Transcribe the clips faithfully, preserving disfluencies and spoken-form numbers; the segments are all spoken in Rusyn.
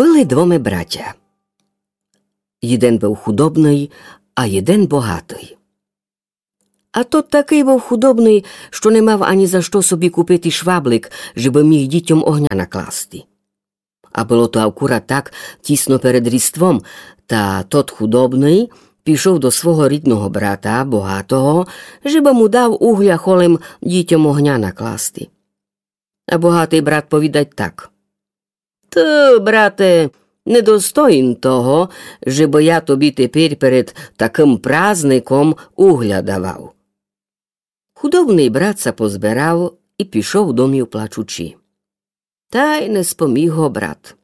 Были двоме братя. Єден быв худобный, а єден богатый. А тот такый быв худобный, што не мав ані за што собі купити шваблик, жебы міг дітьом огня накласти. А было то акурат так тісно перед Різдвом, та тот худобный пішов до свого рідного брата, богатого, жебы му дав угля холем дітьом огня накласти. А богатый брат повідать так: Ты, брате, недостоїн того, жебы я тобі теперь перед такым празником угля давав. Худобный брат ся позберав і пішов домів плачучи. Тай не споміг го брат.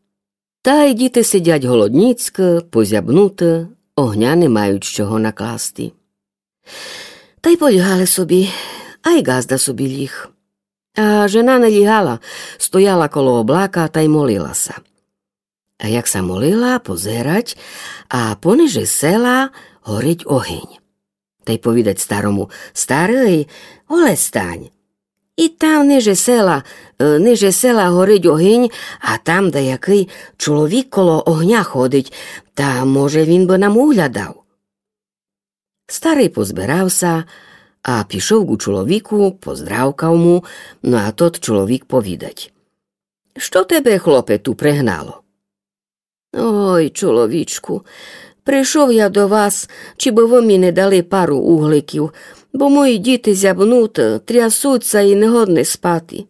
Тай діти сидять голодніцькы, позябнуты, огня не мають з чого накласти. Тай полігали собі, а й ґазда собі ліг. А жена не лігала, стояла коло облака тай молила ся. А як ся молила, позирать, а понижи села горить огень. Тай повідать старому: Старый, оле стань. І там ниже села, е, ниже села горить огень, а там даякый чоловік коло огня ходить, та може він бы нам угля дав. Старый позберав ся, а пішов ку чоловіку, поздравкав му, но а тот чоловік повідать: Што тебе, хлопе, ту пригнало? Ой, чоловічку, пришов я до вас, чи бы вы мі не дали пару угликів, бо мої діти зябнуты, трясуть ся і не годны спати.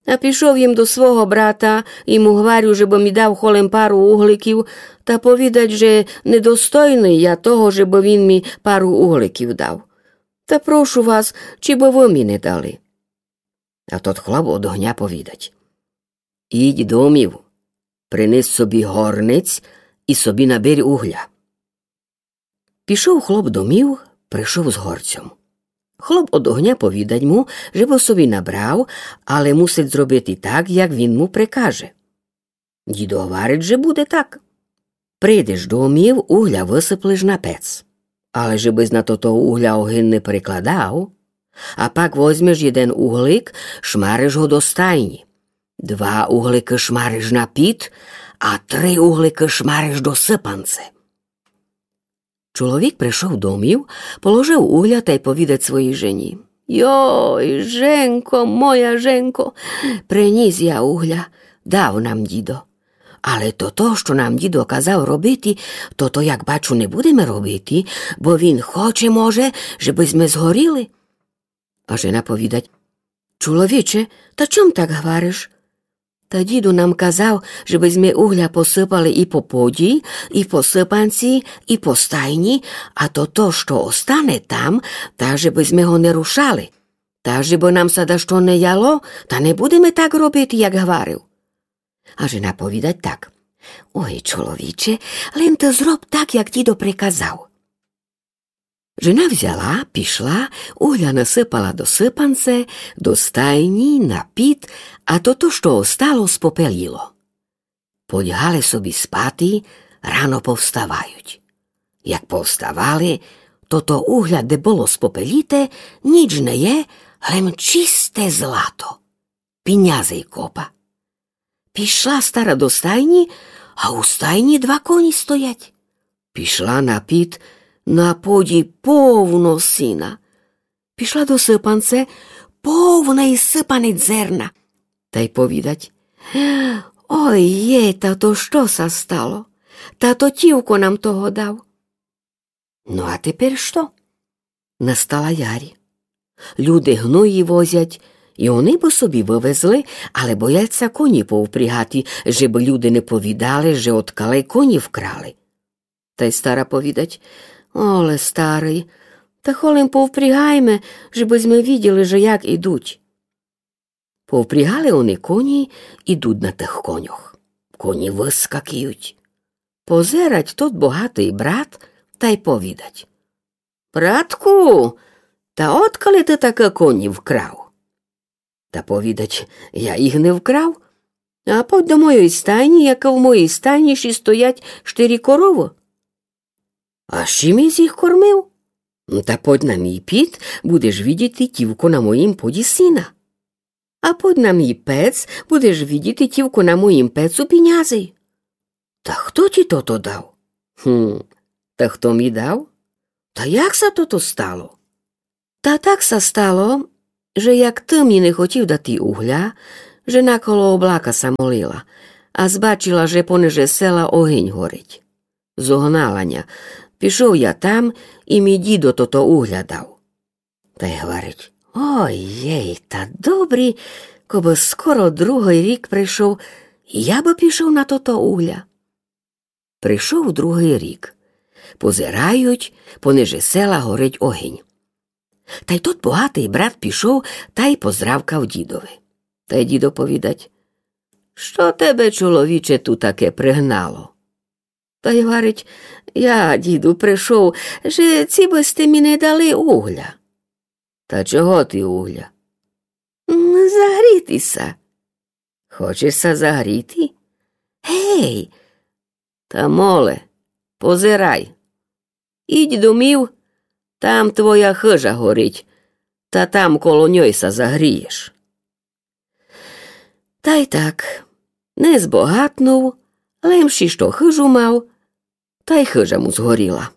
А пішов єм до свого брата, і му гварю, жебы мі дав холем пару угликів, та повідать, же недостойный я того, жебы він мі пару угликів дав. Та прошу вас, чи бы вы мі не дали. А тот хлоп од огня повідать: Ідь домів, принес собі горнець і собі наберь угля. Пішов хлоп домів, пришов з горцьом. Хлоп од огня повідать му, жебы собі набрав, але мусить зробити так, як він му прикаже. Дідо гварить, же буде так. Прийдеш домів, угля высыплеш на пец. Але жебысь на тото угля огин не прикладав, а пак возьмеш єден углик, шмариш го до стайні. Два угликы шмариш на під, а три угликы шмариш до сыпанце. Чоловік пришов домів, положив угля тай повідать своїй жені: Йой, женко, моя женко, принїс я угля, дав нам дідо. Але тото, што нам дідо казав робити, тото, як бачу, не будеме робити, бо він хоче, може, жебы зме згоріли. А жена повідать: Чоловіче, та чом так гвариш? Та дідо нам казав, жебы зме угля посыпали і по поді, і по сыпанці, і по стайні, а тото, што остане там, та жебы зме го не рушали. Та жебы нам ся дашто не яло, та не будеме так робити, як гварив. А жена повідать так: Ой, чоловіче, лем ты зроб так, як дідо приказав. Жена взяла, пішла, угля насыпала до сыпанце, до стайні, на під, а тото, што остало, спопелїло. Полягали собі спати, рано повставають. Як повставали, тото угля, де было спопелїте, ніч не є, лем чисте злато. Пінязей копа. Пішла стара до стайні, а у стайні два коні стоять. Пішла на під, на поді повно сіна. Пішла до сыпанце, повне й сыпане дзерна. Тай повідать: Ой є, та то што ся стало? Та то тївко нам того дав. Ну, а теперь што? Настала ярь. Люди гної возять, і они бы собі вывезли, але боять ся коні повпрягати, жебы люди не повідали, же одкалей коні вкрали. Тай стара повідать: Оле, старый, та холем повпрягайме, жебы зме виділи, же як ідуть. Повпрягали они коні, ідуть на тых коньох. Коні выскакують. Позерать тот богатый брат тай повідать: Братку, та одкале ты такы коні вкрав? Та повідать: Я їх не вкрав. А подь до моєй стайні, як в моєй стайні ще стоять штыри коровы. А з чим єсь їх кормив? Та подь на мій під, будеш видіти тївко на моїм поді сіна. А подь на мій пец, будеш видіти тївко на моїм пецу пінязей. Та хто ті тото дав? Гм, та хто мі дав? Та як ся тото стало? Та так ся стало, же як ты мі не хотів дати угля, жена коло облака ся молила, а збачила, же понеже села огинь горить. Зогнала ня. Пішов я там, і мі дідо тото угля дав. Тай гварить: Ой-єй, та добрі, кобы скоро другый рік пришов, я бы пішов на тото угля. Пришов другый рік. Позирають, понеже села горить огинь. Тай тот богатый брат пішов тай поздравкав дідови. Тай дідо повідать: Што тебе, чоловіче, ту таке пригнало? Тай гварить: Я, діду, пришов, же ці бы сьте мі не дали угля. Та чого ти угля? М, загріти ся. Хочеш ся загріти? Гей, та моле, позирай. Ідь домів, там твоя хыжа горить, та там коло ньой ся загрієш. Тай так, не збогатнув, лем ші што хыжу мав, тай хыжа му згоріла.